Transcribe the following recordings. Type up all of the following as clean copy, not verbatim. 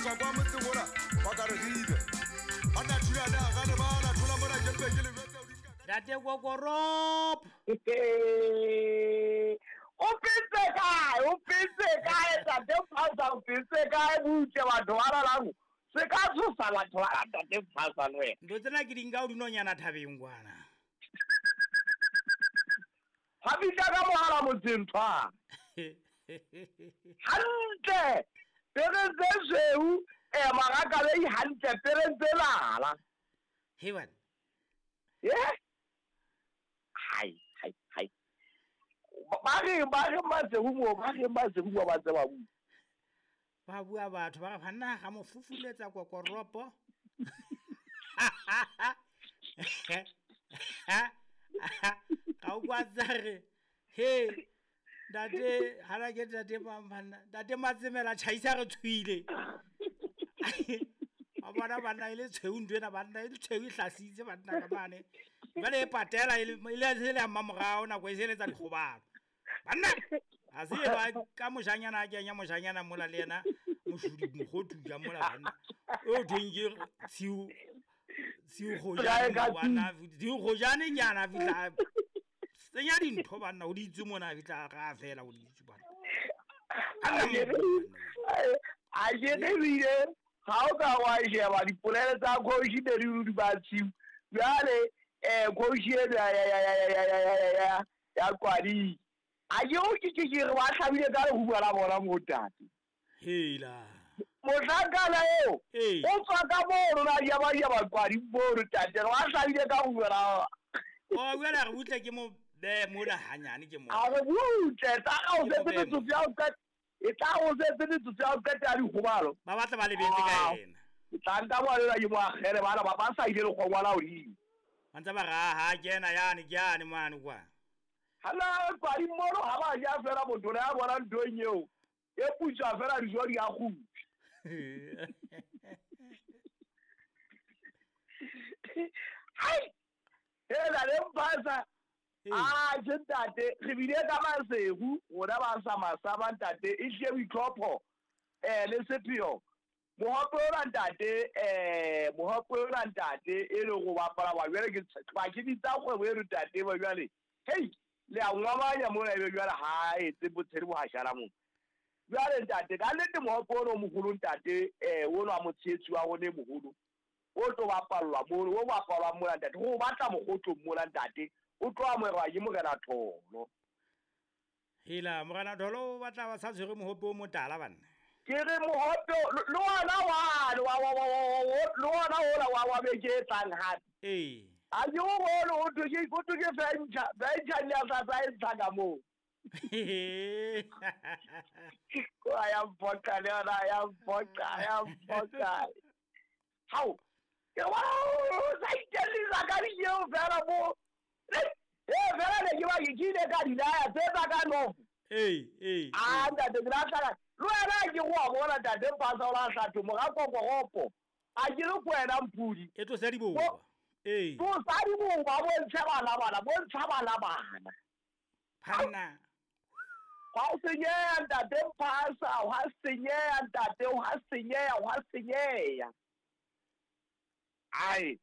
Tlosa kwa motseng ola ba ka re gibe. Banna thulana ga re bala thola mona ke mpe ke le jwetse o di nka ka Ntate Kokorop. O phetse kae? O phetse kae Ntate Mphasa? O phetse kae butle batho ba lalang? Se ka tshosa batho ba Ntate Mphasa le wena. Ntho tsena ke di nka o dinonyana thabeng kwana. Ga fihla ka mogala motseng tshwana. Hantle pereng tse sweu magakalei hantle pereng tse lala. He bana. Ye? Hai hai hai. Ba reng ba reng Maseru moo ba reng Maseru moo ba ntse ba bua. Ba bua batho ba re banna ga mo fufuletsa kokoropo. Ga o kwa tsa re he ntate hana ke ntate mang banna ntate Matsemela tjhaisa re tshwile. A bona banna e le tshweu ntho ena banna e le tshweu e hlasitse banna ka mane. Jwale e patela e le e le ya mmamorao nako e se eletsa dikgobalo. Banna ha se ba ka moshanyana a kenya moshanyana mola le yena moshudi mokgothu ja mola banna. O thweng ke tshiu tshiu kgojane bana tshiu kgojane nyana fihla senya dintho banna o di itse mona fihla ga fela o di itse banna. A ke re bile ga o ka wa sheba dipolelo tsa coach ne di di ba tshiu. Jwale coach eno ya ya Kwadi. A ke o ke ke re ba hlabile ka lehuba la bona mo tate. Hela. Mohlankana eo o tswa ka mono na ya ba ya ba Kwadi mono tate re ba hlabile ka lehuba la. O wena re butle ke mo be mola hanyane ke mo. A re butle tsa ga o setse metsotso ya o qeta. E tla o setse metsotso ya o qeta ya dikgobalo. Ba batla ba lebetse ka ena. Ke tla nka bona ke mo akgele bana ba ba sa ile lekgongwana hodimo. Ba ntse ba ra ha kena yane ke yane mane kwa. Hala Kwadi mono ha ba ja fela motho ya bona nthong eo. E putswa fela dijo di a kgutla. Hai! Hela le Mphasa. Ah, ke ntate re bile ka Maseru rona ba sa masaba ntate e hlile boitlhopho le sepheo. Mohope ona ntate mohope ona ntate e le go bapala wa jwale ke ba ke bitsa kgwebo eno ntate ba jwale. Hei le a ngwamanya mona ebe jwale ha etse botshedi bo hashala mo. Jwale ntate ka nnete mohope ona o moholo ntate ono wa motshehetsi wa rona e moholo. O tlo bapallwa mono, o bapalwa mona ntate. Ho batla mokgotlo mona ntate. O tlo amohelwa ke Morena Tholo. Hela Morena Tholo o batla ba sa tshwere mohope o motala banna. Ke re mohope le ona wa le ona ola wa beke e tlang hape. Ee. A ke o bone o thwe ke venture le a sa tsa e ntsha ka moo. Kwa ya mphoqa le yona ya mphoqa ya mphoqa. Hao. Ke wa o sa itellisa ka dieo fela mo. Fela ne ke ba ke ile ka dilaya tse tsa ka no. Ee. Ah ntate ke la le wena ke go a bona ntate Mphasa o la hlatho mora kokoropo. A ke le ko wena Mpudi. E tlosa diboba. Ee. Tlosa diboba bontsha bana bana bontsha bana bana. Phanna. Hwa senyeha ntate Mphasa, hwa senyeha ntate, hwa senyeha, hwa senyeha. Ai.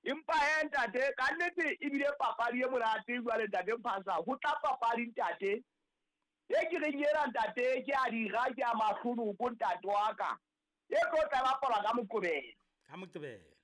Empa he ntate ka nnete ebile papadi e monate jwale ntate Mphasa ho tla papadi ntate. E ke reng ena ntate ke a dira ke a mahlonoko ntate wa ka. E tlo tla bapalwa ka Moqebelo. Ka Moqebelo.